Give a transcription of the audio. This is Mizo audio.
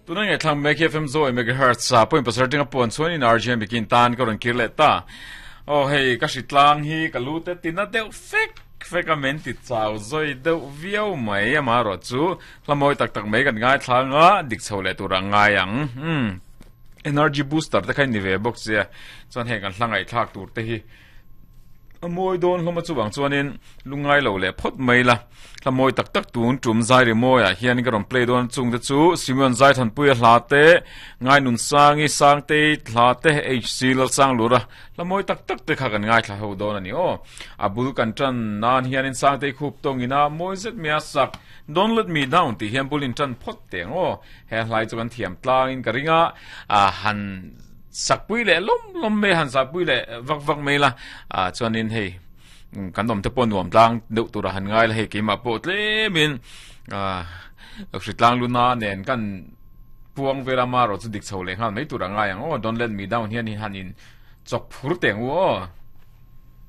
Tuna ngaihthlak mek hi FM Zoe megahertz a point pasarih tinga puan chuan in RJ bikin tan ka rawn kir leh ta. Aw hei ka hritlang hi ka lu te tina deuh fek fek a men ti chau zawi deuh viau mai amaherawh chu hla mawi tak tak mai kan ngaithla anga dik chho leh tur a ngai ang. Umm energy booster te kha in ni ve bawk sia chuan heng kan hla ngaihthlak tur te hi A mawi dawn hlawm a chuvang chuanin lungngai lo leh phawt mai la. Hla mawi tak tak tun tum zai ri mawiah hian ka rawn play dawn chung te chu Simeon Zaithanpuia hla te, Ngainun Sangi Sangtei hla te, HC Lalsanglura hla mawi tak tak te kha kan ngaithla ho dawn a ni aw. A bul kan tan nan hianin Sangtei khup tawngin a mawi zet mai a sak Don't Let Me Down tih hian bul in tan phawt teh ang aw. He hlai chu kan thiam tlangin ka ring a, han Sakpui leh lawm lawm mai han sakpui leh vak vak mai la ah chuanin hei kan awm te pawh nuam tlang deuh tura han ngai la hei keimah pawh tlemin ah hritlang luna nen kan puang vel ama erawh chu dik chho leh nghal mai tur a ngai ang aw don't let me down hian han in chawk phur teh ang u aw.